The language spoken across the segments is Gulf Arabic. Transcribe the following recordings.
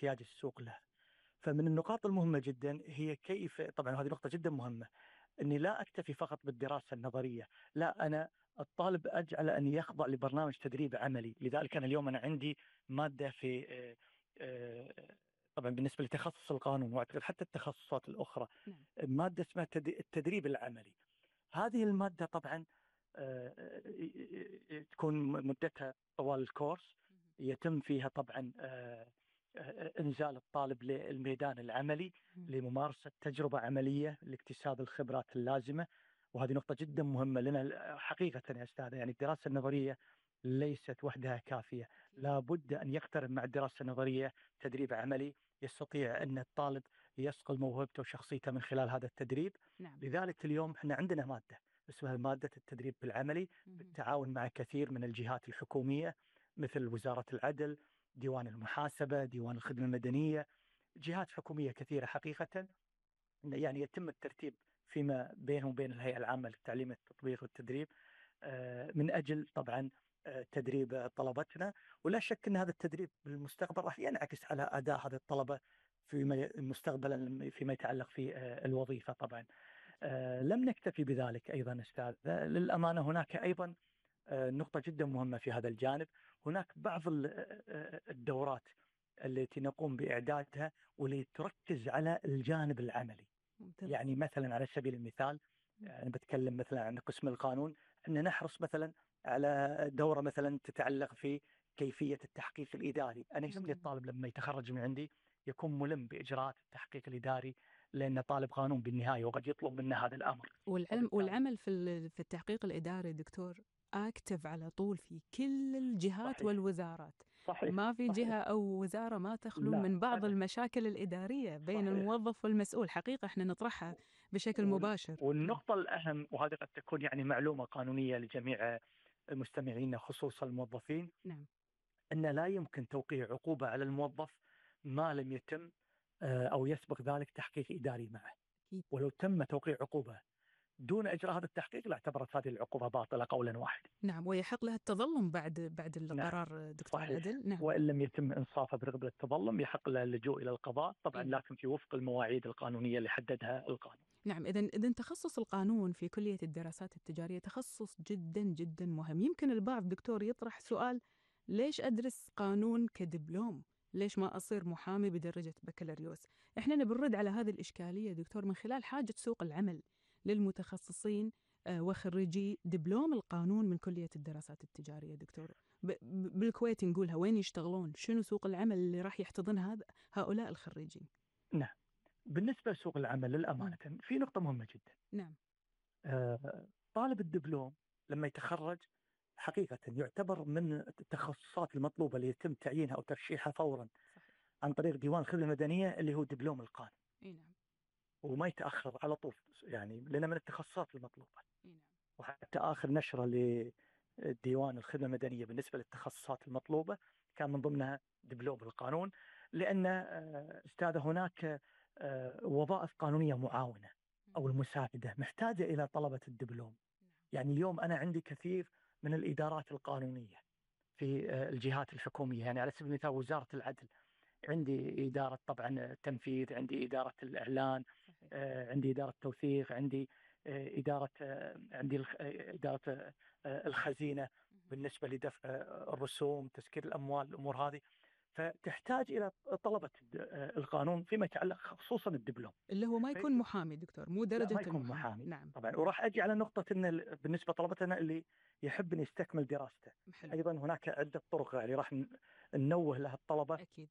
احتياج السوق له. فمن النقاط المهمة جدا هي كيف، طبعا هذه نقطة جدا مهمة، أني لا أكتفي فقط بالدراسة النظرية، لا، أنا الطالب أجعل أن يخضع لبرنامج تدريب عملي. لذلك أنا اليوم عندي مادة في طبعا بالنسبة لتخصص القانون وأعتقد حتى التخصصات الأخرى، نعم. مادة اسمها التدريب العملي. هذه المادة طبعا تكون مدتها طوال الكورس، يتم فيها طبعا إنزال الطالب للميدان العملي لممارسة تجربة عملية لاكتساب الخبرات اللازمة. وهذه نقطة جدا مهمة لنا حقيقة يا أستاذ. يعني الدراسة النظرية ليست وحدها كافية، لا بد أن يقترن مع الدراسة النظرية تدريب عملي يستطيع أن الطالب يصقل موهبته وشخصيته من خلال هذا التدريب. نعم. لذلك اليوم احنا عندنا مادة اسمها مادة التدريب بالعملي، بالتعاون مع كثير من الجهات الحكومية مثل وزارة العدل، ديوان المحاسبة، ديوان الخدمة المدنية، جهات حكومية كثيرة حقيقة. يعني يتم الترتيب فيما بينهم وبين الهيئة العامة للتعليم التطبيق والتدريب من أجل طبعا تدريب طلبتنا. ولا شك أن هذا التدريب بالمستقبل راح ينعكس على أداء هذه الطلبة في مستقبلا فيما يتعلق في الوظيفة. طبعا لم نكتفي بذلك أيضا أستاذ، للأمانة هناك أيضا نقطة جدا مهمة في هذا الجانب. هناك بعض الدورات التي نقوم بإعدادها والتي تركز على الجانب العملي. ممتاز. يعني مثلا على سبيل المثال، أنا بتكلم مثلا عن قسم القانون، أن نحرص مثلا على دورة مثلا تتعلق في كيفية التحقيق الإداري. أنا يهمني جميل. الطالب لما يتخرج من عندي يكون ملم بإجراءات التحقيق الإداري، لأن طالب قانون بالنهاية وقد يطلب منا هذا الأمر. وبالتالي والعمل في التحقيق الإداري دكتور أكتف على طول في كل الجهات صحيح والوزارات. صحيح ما في صحيح. جهة أو وزارة ما تخلو لا من بعض أبدا. المشاكل الإدارية بين صحيح. الموظف والمسؤول. حقيقة إحنا نطرحها بشكل مباشر. نعم. والنقطة الأهم، وهذه قد تكون يعني معلومة قانونية لجميع مستمعينا خصوصا الموظفين، نعم. أن لا يمكن توقيع عقوبة على الموظف ما لم يتم أو يسبق ذلك تحقيق إداري معه. أكيد. ولو تم توقيع عقوبة دون إجراء هذا التحقيق لاعتبرت هذه العقوبة باطلة قولا واحدا. نعم، ويحق لها التظلم بعد نعم القرار دكتور صحيح. عدل. نعم. وإن لم يتم إنصافه برغبة التظلم يحق له اللجوء إلى القضاء طبعا، أي نعم. لكن في وفق المواعيد القانونية اللي حددها القانون. نعم، إذن تخصص القانون في كلية الدراسات التجارية تخصص جدا جدا مهم. يمكن البعض دكتور يطرح سؤال: ليش أدرس قانون كدبلوم؟ ليش ما أصير محامي بدرجة بكالوريوس؟ إحنا نبرد على هذه الإشكالية دكتور من خلال حاجة سوق العمل للمتخصصين وخريجي دبلوم القانون من كلية الدراسات التجارية. دكتور، بالكويت نقولها، وين يشتغلون؟ شنو سوق العمل اللي راح يحتضن هؤلاء الخريجين؟ نعم. بالنسبة لسوق العمل للأمانة في نقطة مهمة جدا. نعم. طالب الدبلوم لما يتخرج حقيقة يعتبر من التخصصات المطلوبة اللي يتم تعيينها أو ترشيحها فورا صحيح. عن طريق ديوان الخدمة المدنية اللي هو دبلوم القانون. اي نعم. وما يتأخر على طول، يعني لأنه من التخصصات المطلوبة. اي نعم. وحتى آخر نشرة لديوان الخدمة المدنية بالنسبة للتخصصات المطلوبة كان من ضمنها دبلوم القانون، لأن أستاذ هناك وظائف قانونية معاونة أو المساعدة محتاجة إلى طلبة الدبلوم. يعني اليوم أنا عندي كثير من الإدارات القانونية في الجهات الحكومية، يعني على سبيل المثال وزارة العدل عندي إدارة طبعا التنفيذ، عندي إدارة الإعلان، صحيح. عندي إدارة توثيق، عندي إدارة عندي إدارة الخزينة بالنسبة لدفع الرسوم، تسكير الأموال، الأمور هذه. فتحتاج إلى طلبة القانون فيما يتعلق خصوصا الدبلوم. اللي هو ما يكون محامي دكتور، مو لا درجة ما يكون المحامي. محامي نعم. طبعا. وراح أجي على نقطة أن بالنسبة لطلبتنا اللي يحب أن يستكمل دراسته، حلو. أيضا هناك عدة طرق يعني راح ننوه لها الطلبة أكيد.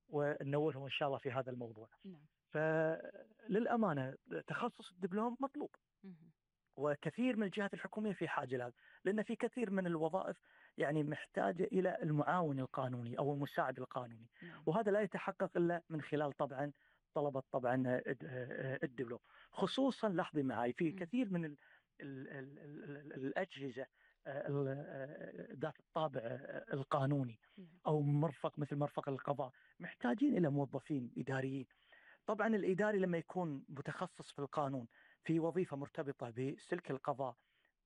وننوههم إن شاء الله في هذا الموضوع. نعم. فللأمانة تخصص الدبلوم مطلوب، مهم. وكثير من الجهات الحكومية في حاجة لهذا، لأن في كثير من الوظائف يعني محتاجة إلى المعاون القانوني أو المساعد القانوني. نعم. وهذا لا يتحقق إلا من خلال طبعا طلبة طبعا الدبلوم. خصوصا لاحظي معي في مم. كثير من الأجهزة ذات الطابع القانوني نعم. أو مرفق مثل مرفق القضاء محتاجين إلى موظفين إداريين. طبعا الإداري لما يكون متخصص في القانون في وظيفة مرتبطة بسلك القضاء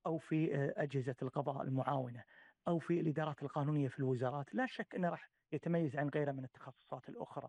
أو في أجهزة القضاء المعاونة أو في الإدارات القانونية في الوزارات، لا شك أنه راح يتميز عن غيره من التخصصات الأخرى.